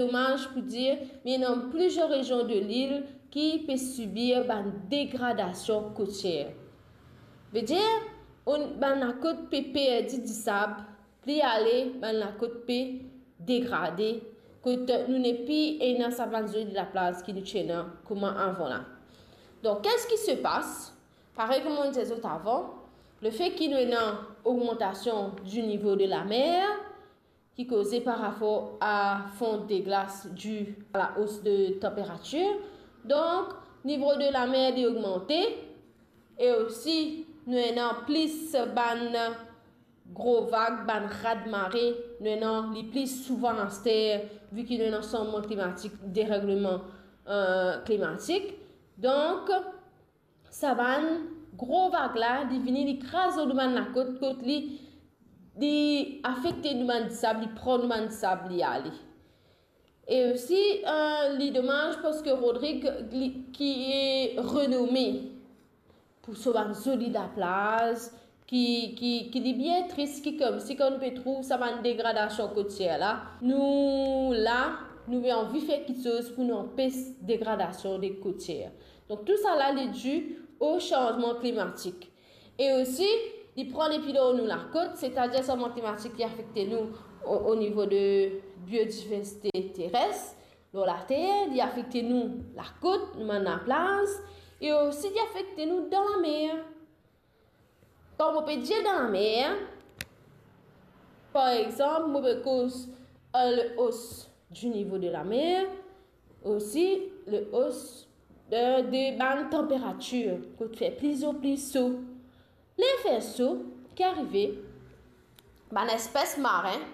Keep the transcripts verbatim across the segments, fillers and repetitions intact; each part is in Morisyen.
domaz pou dir, me ena plizier rezion de lil ki pe sibir bann degradasion kotier. Vedir, bann lakot pe perdi disab, pli ale, bann lakot pe degrade, kot nou nepli ena sa bann zoli laplaz ki nou ti ena kouma avan la. Donk, qu'est-ce qui se passe? Parey kouma mo dir zot avan, lefe ki nou ena ogmantasion di nivo de lamer, ki koze par rapor a fonte de glas di a la os de tanperatir. Donk, nivo de lamer li ogmante, e osi nou ena plis bann gro vag, bann raz-de-mare, nou ena li pli souvan aster, vi ki nou ena sanzman klimatik, deregleman, eh, klimatik. Donk, sa bann gro vag la, li vini, li kraz lor nou bann lakot, kot li, li afekte nou bann disab, li pran nou bann disab, li ale. E osi, eh, li domaz parski Rodrig, li, ki e renome pou so bann zoli laplaz, ki, ki, ki li bien tris, ki koumsi kan nou pe trouv sa bann degradasion kotier la, nou la, nou pe anvi fer kiksoz pou nou anpes degradasion de kotier. Donk, tousala, li di o sanzman klimatik. E osi, li pran depi lor nou lakot, setadir sanzman klimatik, li afekte nou o, o nivo de biodiversite teres, lor later, li afekte nou lakot, nou bann laplaz, e osi li afekte nou dan lamer. Kan mo pe dir dan lamer, par exanp, mo pe koz, eh, le os di nivo de lamer, osi le os de, de bann tanperatir, kot fer pli an pli so. Ler fer so, ki arive, bann espes maren,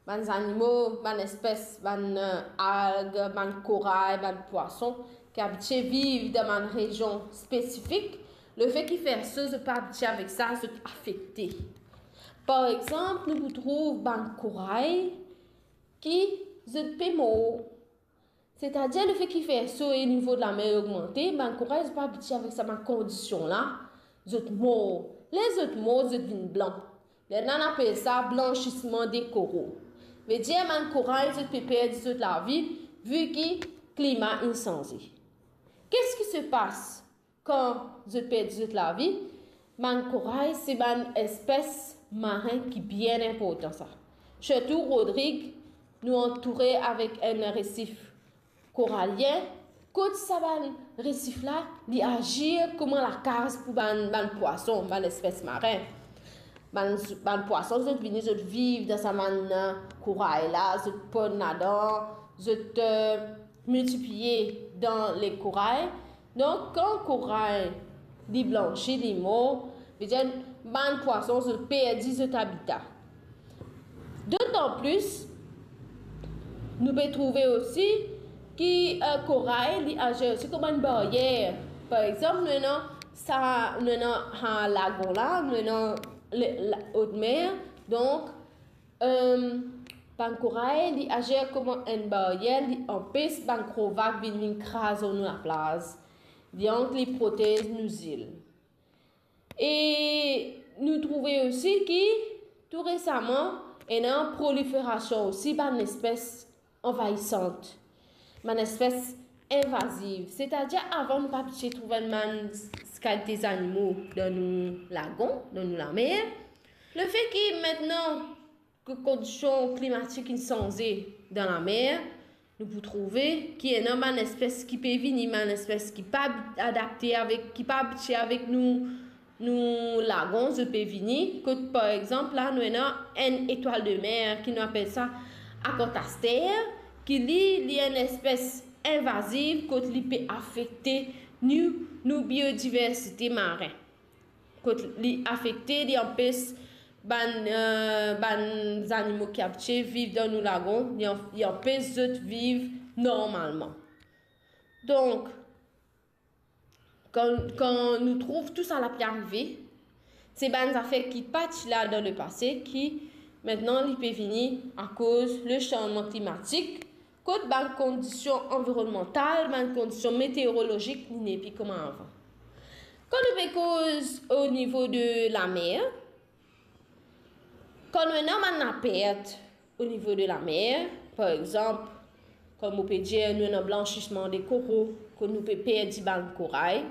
bann zanimo, bann espes, bann, eh, alg, bann koray, bann pwason, ki abitie viv dan bann rezion spesifik, lefe ki fer so, zot pa abitie avek sa, zot afekte. Par exanp, nou pou trouv bann koray ki zot pe mor. Setadir lefe ki fer so e nivo de lamer ogmante, bann koray zot pa abitie avek sa bann kondision la, zot mor. Ler zot mor, zot vinn blan. Lerla nou apel sa blansisman de koral. Vedir bann koray zot pe perdi zot lavi, vi ki klima inn sanze. Qu'est-ce qui se passe? Kan zot perdi zot lavi, bann koray se bann espes maren ki bien inportan sa. Sirtou Rodrig, nou antoure avek enn resif koralien, kot sa bann resif la, li azir kouma lakaz pou bann, bann pwason, bann espes maren. Bann, bann pwason, zot vini, zot viv dan sa bann, eh, koray la, zot ponn ladan, zot, eh, miltipliye dan le koray. Donk, kan koray li blansi, li mor, vedir bann pwason, zot perdi zot abita. Dotan plis, nou pe trouve osi ki, eh, koray, li azir osi kouma enn baryer. Par exanp, nou ena sa, nou ena, ha, lagon la, nou ena le, la, otmer. Donk, eh, bann koray, li azir kouma enn baryer, li anpes bann gro vag vinn, vinn kraz lor nou laplaz. Donk, li protez nou zil. E nou trouve osi ki, tou resaman, ena proliferasion osi bann espes anvaisant, bann espes invaziv. Setadir, avan, nou pa abitie trouv bann s-, kalite zanimo dan nou lagon, dan nou lamer. Lefe ki, mintnan, ki kondision klimatik inn sanze dan lamer, nou pou trouve ki ena bann espes ki pe vini, bann espes ki pa adapte avek, ki pa abitie avek nou, nou lagon, zot pe vini. Kot, par exanp, la, nou ena enn etwal de mer, ki nou apel sa akant aster, ki li, li enn espes invaziv, kot li pe afekte nou, nou biodiversite maren. Kot li afekte, li anpes bann, eh, bann zanimo ki abitie viv dan nou lagon, li an-, li anpes zot viv normalman. Donk, kan, kan nou trouv tousala pe arive, se bann zafer ki pa ti la dan lepase ki, mintnan, li pe vini akoz le sanzman klimatik, kot bann kondision anvironnmantal, bann kondision meteorolozik, li nepli kouma avan. Kan nou pe koz o nivo de lamer, kan nou ena bann lapert o nivo de lamer, par exanp, Kouma mo pe dir, nou ena blansisman de koro, kot nou pe perdi bann koray.